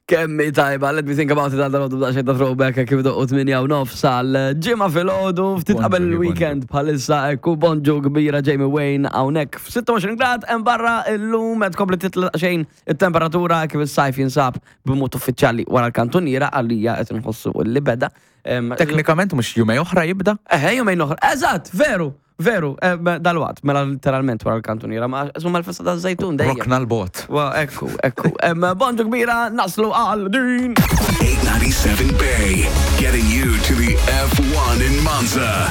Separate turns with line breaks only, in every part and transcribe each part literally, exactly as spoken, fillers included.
Kemm hi tajba, let me think about it, għal dal-għodu b'daqsxejn ta' throwback kif doqqu tmienja u nofs għal ġimgħa filgħodu, ftit qabel
Bonġu,
il-weekend bħalissa, ekku, bonġu kbira, Jamie Wayne hawnhekk. F'sitta u għoxrin grad hemm barra illum, qed tkompli titla' xejn it-temperatura kif is-sajf jinsab b'mod uffiċjali wara l-kantuniera, għalija qed nħossu li beda. Em,
Teknikament mhux jumejn oħra jibda.
Eħe, jumejn oħra. Eżatt, veru, veru, eh, dal-waqt, mela literalment wara l-kantuniera, ma insomma l-festa ta' żejtun dejjem.
Rokna l-bot.
Wa, ekku, ekku. Em, Bonġu kbira, naslu għal din.
eight ninety-seven Bay, getting you to the F one in Monza.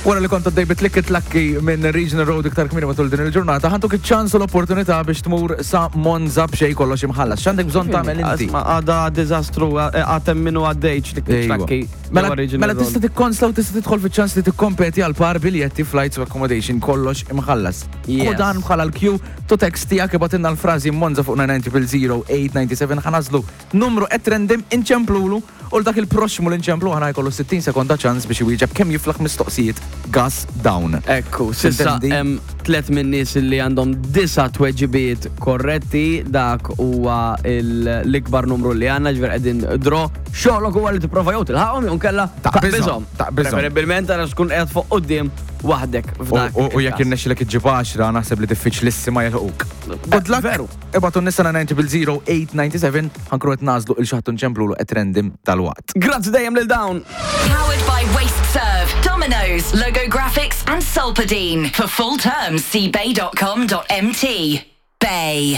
Wara li kont għaddej bit-tlikki tlakki minn Regional Road iktar kmieni matul din il-ġurnata, ħa ntuk iċ-ċans u l-opportunità biex tmur sa Monza b'xejn, kollox imħallas. X'għandek bżonn tagħmel inti?
Asma, għada dizastru, għatem minnu għaddejċ li
Ejwa.
tlakki.
Mela, mela tista' tikkonsla u tista' tidħol fiċ-ċans li tikkompeti għal par biljetti, flights u accommodation, kollox imħallas.
Yes.
U dan bħala l-cue to text tiegħek, ibgħatilna l-frażi Monza fuq nine nine zero eight nine seven. Ħa nagħżlu numru at random, inċemplulu, u dak il-proxmu li nċemplu ħana jkollu sittin sekonda ċans biex iwieġeb kemm jiflaħ mistoqsijiet gas down.
Ekku, s'issa
Tintendi?
hemm tlet minn nies li għandhom disa tweġibiet korretti, dak huwa il- l-ikbar numru li għandna, ġifier qegħdin draw. Xogħlok huwa li tipprova jew tilħaqhom jew nkella
Taqbiżhom, taqbiżhom.
Preferibilment għax tkun qiegħed fuq quddiem waħdek f'dak
U u jekk
il-każ.
irnexxilek iġġib għaxra, naħseb li diffiċlissima jilħquk. Good luck.
Veru.
Ibagħtu nisa nine zero eight nine seven, ħa nkunu qed nagħżlu lil xi ħadd, nċemplulu at random dalwaqt.
Grazzi dejjem lil dawn.
Powered by WasteServ, Domino's, Logo Graphics and Solpadeine. For full terms, see bay dot com dot M T. Bay.